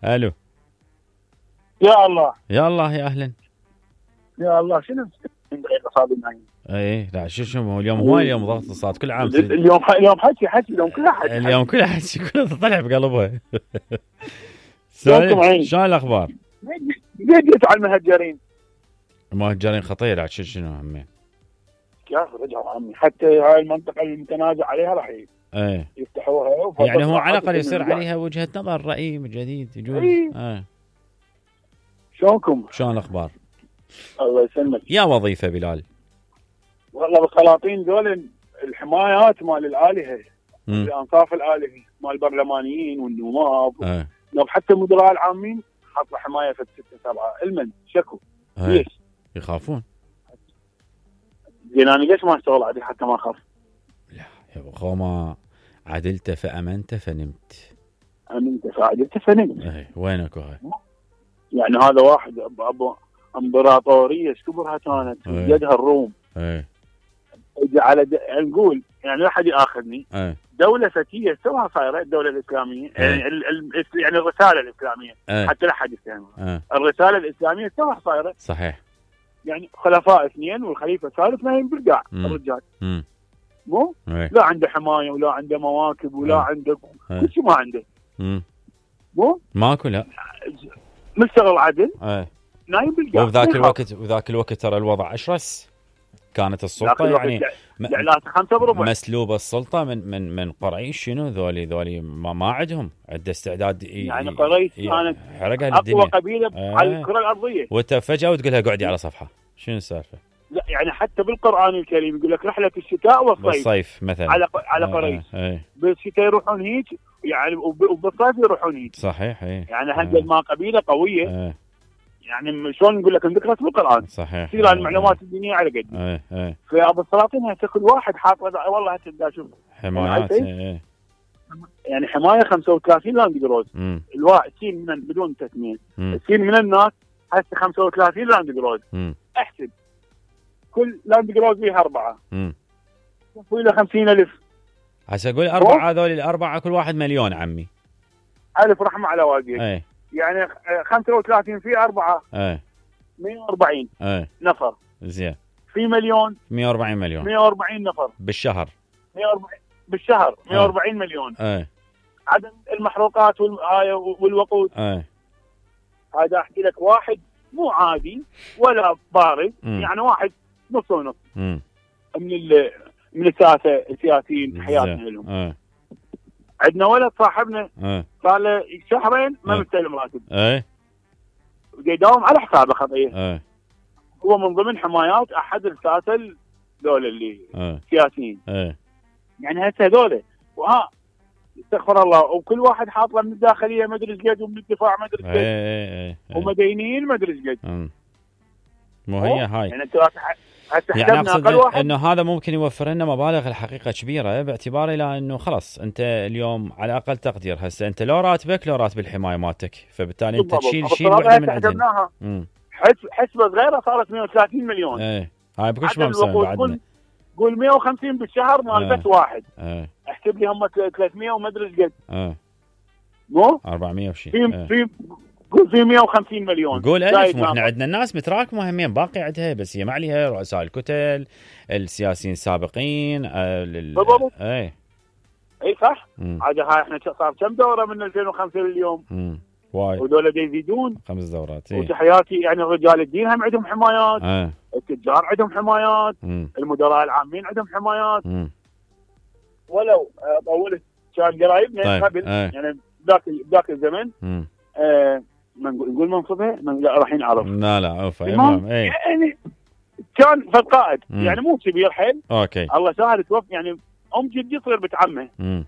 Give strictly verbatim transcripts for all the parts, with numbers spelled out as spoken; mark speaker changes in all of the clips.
Speaker 1: الو
Speaker 2: يا الله
Speaker 1: يا الله يا اهلا
Speaker 2: يا الله شنو دقيقه صابي نايم.
Speaker 1: اي لا شو شو اليوم هو اليوم ضغط الصوت كل عام تريد.
Speaker 2: اليوم اليوم حكي حكي اليوم كلها حكي
Speaker 1: اليوم كلها حكي كلها طلع بقلبها.
Speaker 2: شلونكم
Speaker 1: شلون الاخبار؟
Speaker 2: جيت على المهجرين.
Speaker 1: المهجرين خطير عاد شو شنو عمي؟
Speaker 2: يا اخي رجعوا عمي حتى هاي المنطقه المتنازع عليها راح
Speaker 1: ايه
Speaker 2: يفتحوها
Speaker 1: يعني هو على الاقل يصير عليها وجهه نظر راي جديد يجوز.
Speaker 2: ايه
Speaker 1: اه
Speaker 2: شلونكم؟
Speaker 1: شلون الاخبار؟
Speaker 2: الله يسلمك.
Speaker 1: يا وظيفه بلال
Speaker 2: والله بالسلاطين ذول الحمايات مال الالهه الانصاف الالهي مال البرلمانيين والنواب
Speaker 1: اه
Speaker 2: نواب حتى المدراء العامين حاطه حمايه في ستة سبعة المن شكو
Speaker 1: اه.
Speaker 2: ليش؟
Speaker 1: يخافون.
Speaker 2: زين انا ليش ما اشتغل عادي حتى ما اخاف؟
Speaker 1: لا يا ابو ما عدلت فامنت فنمت.
Speaker 2: امنت فعدلت فنمت.
Speaker 1: اي وينك هاي؟
Speaker 2: يعني هذا واحد ابو امبراطوريه كبرها كانت يدها الروم.
Speaker 1: اي
Speaker 2: على د... نقول يعني لا حد ياخذني.
Speaker 1: اي
Speaker 2: دوله فتيه توها صايره الدوله الاسلاميه يعني ال... ال... يعني الرساله الاسلاميه
Speaker 1: أي.
Speaker 2: حتى لا حد يفهمها. الرساله الاسلاميه توها صايره.
Speaker 1: صحيح.
Speaker 2: يعني خلفاء اثنين والخليفه الثالث نايم بالقاع الرجال.
Speaker 1: امم
Speaker 2: مو
Speaker 1: أي.
Speaker 2: لا عنده حمايه ولا عنده مواكب ولا
Speaker 1: أي.
Speaker 2: عنده كل شيء ما عنده.
Speaker 1: امم
Speaker 2: مو
Speaker 1: ماكو لا
Speaker 2: مشتغل عدل.
Speaker 1: اي
Speaker 2: نايم بالقاع.
Speaker 1: وبذاك الوقت وذاك الوقت ترى الوضع اشرس. كانت السلطه يعني
Speaker 2: جعلات خمسة بربع
Speaker 1: مسلوبه السلطه من من من قريش شنو ذولي ذولي ما, ما عندهم عنده استعداد
Speaker 2: يعني قريش كانت
Speaker 1: اقوى
Speaker 2: قبيله آه. على الكره الارضيه.
Speaker 1: وانت فجاه وتقولها قعدي على صفحه شنو السالفه؟
Speaker 2: لا يعني حتى بالقران الكريم يقول لك رحله الشتاء والصيف.
Speaker 1: والصيف مثلا
Speaker 2: على على قريش.
Speaker 1: آه. آه.
Speaker 2: بالشتاء يروحون هيك يعني وبالصيف يروحون هيك.
Speaker 1: صحيح اي
Speaker 2: يعني هذه آه. ما قبيله قويه.
Speaker 1: آه.
Speaker 2: يعني شلون نقول لك ذكرت بالقران.
Speaker 1: صحيح.
Speaker 2: تصير آه. المعلومات الدينيه على قد.
Speaker 1: اي اي
Speaker 2: فابو السلاطين هسه كل واحد حاط والله هسه شوف
Speaker 1: حمايات اي
Speaker 2: يعني حمايه خمسة وثلاثين لاند جروز. الواحد سين من بدون تسميه السين من الناس هسه خمسة وثلاثين لاند جروز. احسب كل لاند جروز فيها اربعه. امم له خمسين ألف.
Speaker 1: هسه اقول اربعه هذول الاربعه كل واحد مليون عمي.
Speaker 2: الف رحمه على والديك.
Speaker 1: اي
Speaker 2: يعني خمسة وثلاثين في أربعة
Speaker 1: اي
Speaker 2: مئة وأربعين
Speaker 1: اي
Speaker 2: نفر.
Speaker 1: زين
Speaker 2: في مليون
Speaker 1: مئة وأربعين مليون
Speaker 2: مئة وأربعين نفر
Speaker 1: بالشهر.
Speaker 2: مئة وأربعين بالشهر مئة وأربعين مليون.
Speaker 1: اي
Speaker 2: عدد المحروقات والآية والوقود.
Speaker 1: اي
Speaker 2: هذا احكي لك واحد مو عادي ولا بارد. م. يعني واحد نص ونص م. من ال من الساسه السياسيين حياتنا لهم. عندنا ولد صاحبنا صار له شهرين ما مستلم راتب.
Speaker 1: اي
Speaker 2: يداوم على حسابه خطيه.
Speaker 1: اي
Speaker 2: هو من ضمن حمايات احد الساسه ذول اللي
Speaker 1: أي.
Speaker 2: سياسيين.
Speaker 1: اي
Speaker 2: يعني هسه هذول وها استغفر الله وكل واحد حاط له من الداخليه ما ادري ايش قد ومن الدفاع ما ادري ايش قد.
Speaker 1: اي اي
Speaker 2: ومدينيين ما ادري ايش قد.
Speaker 1: مو هي هاي
Speaker 2: يعني انت
Speaker 1: يعني اقصد انه هذا ممكن يوفر لنا مبالغ الحقيقه كبيره باعتبار الى انه خلاص انت اليوم على اقل تقدير هسه انت لو راتبك لو راتب الحمايه مالتك فبالتالي انت تشيل شيء وحده من عندنا.
Speaker 2: حسبه صغيره صارت مئة وثلاثين مليون.
Speaker 1: ايه هاي بكل ما مسوي بعدنا.
Speaker 2: قول مئة وخمسين بالشهر مال
Speaker 1: اه.
Speaker 2: بس واحد.
Speaker 1: ايه
Speaker 2: احسب لي هم ثلاثمئة وما ادري ايش قد.
Speaker 1: اه
Speaker 2: مو
Speaker 1: أربعمية وشيء.
Speaker 2: في
Speaker 1: اه.
Speaker 2: في قول في مئة وخمسين مليون.
Speaker 1: قول ألف مو احنا عندنا الناس متراكمه همين باقي عندها بس هي ما عليها رؤساء الكتل السياسيين السابقين. اه لل...
Speaker 2: بالضبط.
Speaker 1: اي
Speaker 2: اي صح. عاد هاي احنا صار كم دوره من ألفين وخمسة لليوم.
Speaker 1: امم وايد
Speaker 2: ودول يزيدون
Speaker 1: خمس دورات. ايه.
Speaker 2: وتحياتي يعني رجال الدين هم عندهم حمايات.
Speaker 1: اه.
Speaker 2: التجار عندهم حمايات.
Speaker 1: مم.
Speaker 2: المدراء العامين عندهم حمايات.
Speaker 1: مم.
Speaker 2: ولو طولت كان قرايبنا
Speaker 1: طيب.
Speaker 2: قبل
Speaker 1: اه.
Speaker 2: يعني ذاك ذاك الزمن.
Speaker 1: امم
Speaker 2: آه ما نقول منصبها من راح نعرف.
Speaker 1: لا لا عفوا المهم اي
Speaker 2: يعني كان فد قائد يعني مو كبير حيل.
Speaker 1: اوكي
Speaker 2: الله سهل توفى يعني ام جدي تصير بنت عمه.
Speaker 1: امم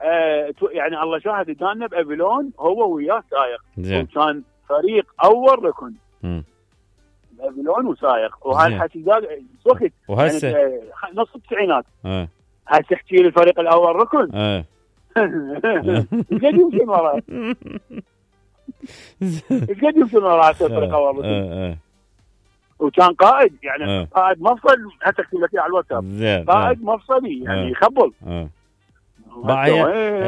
Speaker 2: آه يعني الله شاهد كان بابلون هو وياه سايق.
Speaker 1: زين.
Speaker 2: وكان فريق اول ركن.
Speaker 1: امم
Speaker 2: بابلون وسايق وهاي الحكي ذاك وقت
Speaker 1: وهسه
Speaker 2: يعني نص التسعينات.
Speaker 1: اه
Speaker 2: هسه احكي لي الفريق الاول ركن.
Speaker 1: اه
Speaker 2: قد يمشي وراه قد يمشي وراه الفريق الاول ركن.
Speaker 1: اه اه
Speaker 2: وكان قائد يعني
Speaker 1: اه.
Speaker 2: قائد مفصل هسه اكتب لك على الواتساب. قائد مفصلي يعني يخبل.
Speaker 1: اه هي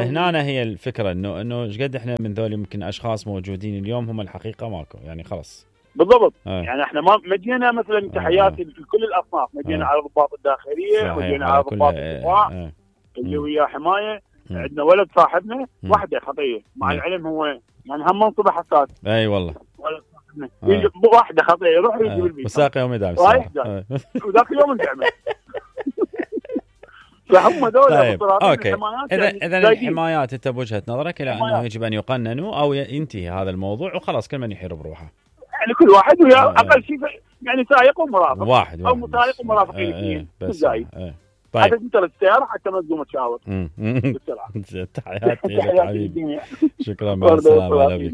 Speaker 1: هنا هي الفكره انه انه ايش قد احنا من ذول يمكن اشخاص موجودين اليوم هم الحقيقه ماكو يعني خلاص
Speaker 2: بالضبط. آه. يعني احنا ما مدينا مثلا تحياتي آه. لكل الاصناف، مدينا آه. على الضباط الداخليه، مدينا على ضباط الدفاع آه. اللي وياه حمايه. آه. عندنا ولد صاحبنا وحده خطيه مع آه. العلم هو يعني هم منصبه حساس.
Speaker 1: اي والله
Speaker 2: ولد صاحبنا آه. واحده خطيه يروح يجيب البيت
Speaker 1: وساق يوم يدعم
Speaker 2: رايح جاي وذاك اليوم الجامعه. فهم ذول
Speaker 1: طيب. اوكي اذا يعني اذا الحمايات انت بوجهه نظرك الى انه يجب ان يقننوا او ينتهي هذا الموضوع وخلاص كل من يحير بروحه.
Speaker 2: يعني كل واحد ويا آه. اقل شيء يعني سائق ومرافق
Speaker 1: واحد
Speaker 2: او مسائق ومرافقين اثنين بس زايد.
Speaker 1: طيب
Speaker 2: حتى انت السياره حتى ما تقوم تشاور.
Speaker 1: تحياتي لك حبيبي. شكرا مع السلامه.